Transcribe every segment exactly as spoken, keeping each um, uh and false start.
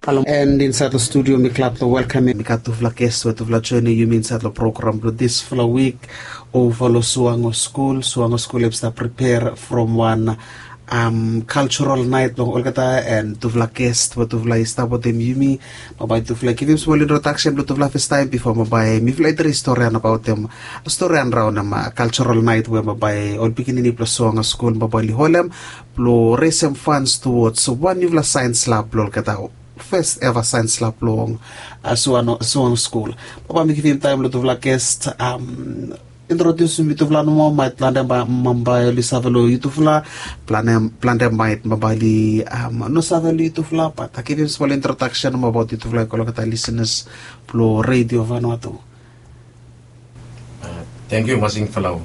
Halo, and insaed long studio mi glad long welkamem, mi gat tufala ges we tufala joenem yumi insaed long program blong disfala wik. Ova long Suango Skul, Suango Skul hem stap pripea from wan um, cultural night blong olgeta, and tufala ges we tufala i stap wetem yumi. Bambae tufala i givim smol introdaksen blong tufala fastaem bifo bambae mifala i traes storian abaotem, storian raonem, uh, cultural night we bambae ol pikinini blong Suango Skul bambae oli holem blong resem fans towards wan niufala saens lab blong olgeta, fes eva saens lab blong, uh, Suango, Suango Skul. Bambae mi givim taem long tufala ges, um, introdiusim yutufala nomo, maet plantem bambae oli save long yutufala, plantem maet bambae oli, um, no save long yutufala, bat givim smol introdaksen nomo abaot yutufala i go long olgeta lisenas blong Redio Vanuatu. Tangkiu Masing Falau.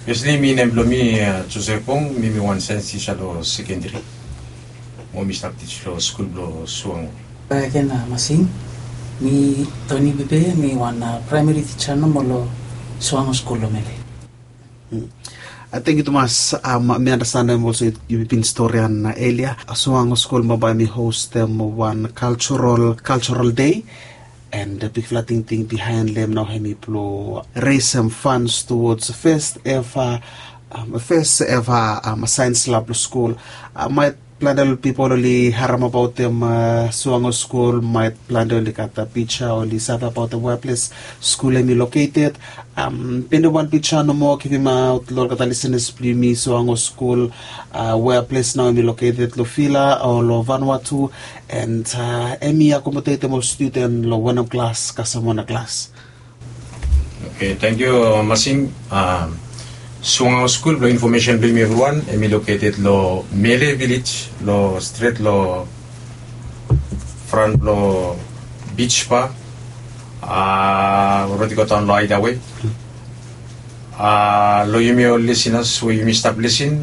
Fesli mi nem blong mi Josef Bong, mi mi wan saens tisa long sekendri. Mo mi stap tij long skul blong Suango. Baek gen Masing, mi Toni Bibe, mi wan praemeri tija nomo long Suango Skul long Mele. Tangkiu tumas. Mi anastenem olsem yumi bin storian elia, Suango Skul bambae mi hostem wan cultural, cultural day. And bigfala tingting bihaen long hem nao hemi blong resem fans towards fes eva, fes eva saens lab blong skul. Maet plante ol pipol oli harem abaotem Suango Skul, maet plante oli gat pija, oli save abaotem wea ples skul hemi loketed. Pende wan pija nomo givimaot long olgeta lisenas blong yumi, Suango Skul, wea ples nao hemi loketed long vila o long Vanuatu, and hemi akomodetem ol studen long wanem klas kasem wanem klas. Oke, tangkiu Masing. Suango Skul, blong infomesen blong yumi evriwan, hemi loketed long Mele Vilej, long stret long fran blong Bij Ba, rod i go daon long Haedawe. Long yumi ol lisenas we yumi stap lisin,